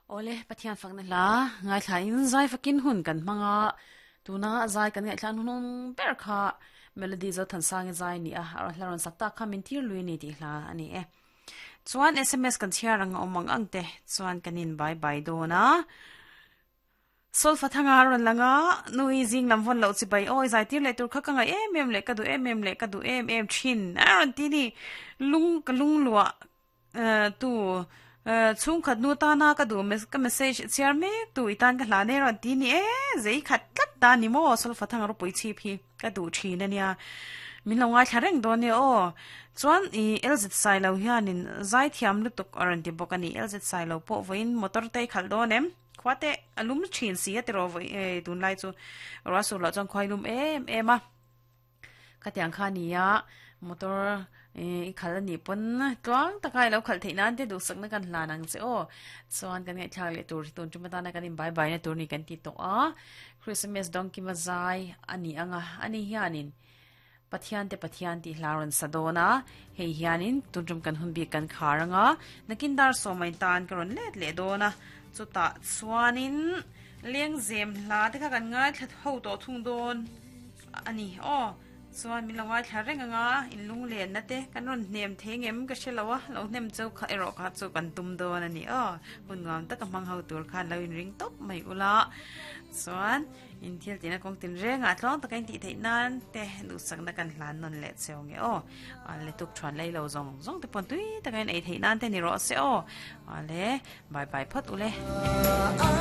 Awle, Pathian fakna hla ngaithla in zai fakin hun kan hmang a, tuna zai kan ngaihthla hnung ber kha Melody Zothansang i zai a ni a, a hla rawn sak tak kha min tir lui a ni tih hla a ni e. Chuan sms kan chhiar ang a awm ang ang te chuan kan in bye bye dawn a. Solfa thanga a rawn lang a, nui zing lam vawn loh chibai awi zai tir leh tur kha ka ngaih em em leh ka duh em em leh ka duh em em thin a rawn ti ni. Lung ka lung luah tu chhungkhat nu tana ka duh ka message chhiar mek tu i tan ka hlan e rawn ti ni e zei khat tlat ta ni maw Solfa thanga ropui chhip hi ka duh thin a nia. Min lo ngaithla reng dawn nia aw. Chuan i LZ Sailo hianin zaithiam lutuk a rawn ti bawk a ni. LZ Sailo pawh vawiin motor te i khalh dawn em? Khua te a lum thin si a tiraw vawi eh tunlai chu ruah sur loh chuan khua i lum em em a khatiang kha a ni a motor eh i khalh a nih pawn tluang taka i lo khalh theih nan te duhsakna kan hlan ang che aw chuan kan ngaihthlak leh tur hi tun tum atana kan in bye bye na tur ni kan ti tawh a Christmas dawngkima zai a ni ang a ani hianin. Pathian te Pathian tih hla rawn sa dawn a, hei hianin tun tum kan hun bik kan khar ang a, nakin dar sawmai tan ka rawn let leh dawn a, chutah chuanin lengzem hla te kha kan ngaithla ho tawh thung dawn a ni aw, chuan min lo ngaithla reng ang a, in lunglenna te kan rawn hnem thei ngem ka hre lo a, lo hnem chu kha erawh kha chu kan tum dawn a ni aw, hun nuam taka hmang ho tur khan lo inring tawp mai ula, chuan. In thil tihna kawng tin rengah tluang taka in tih theih nan te duhsakna kan hlan nawn leh cheu nge aw. A le tuk thuan lei lo zawng zawng te pawn tui taka in ei theih nan te ni rawh se aw. A le bye bye phawt u le.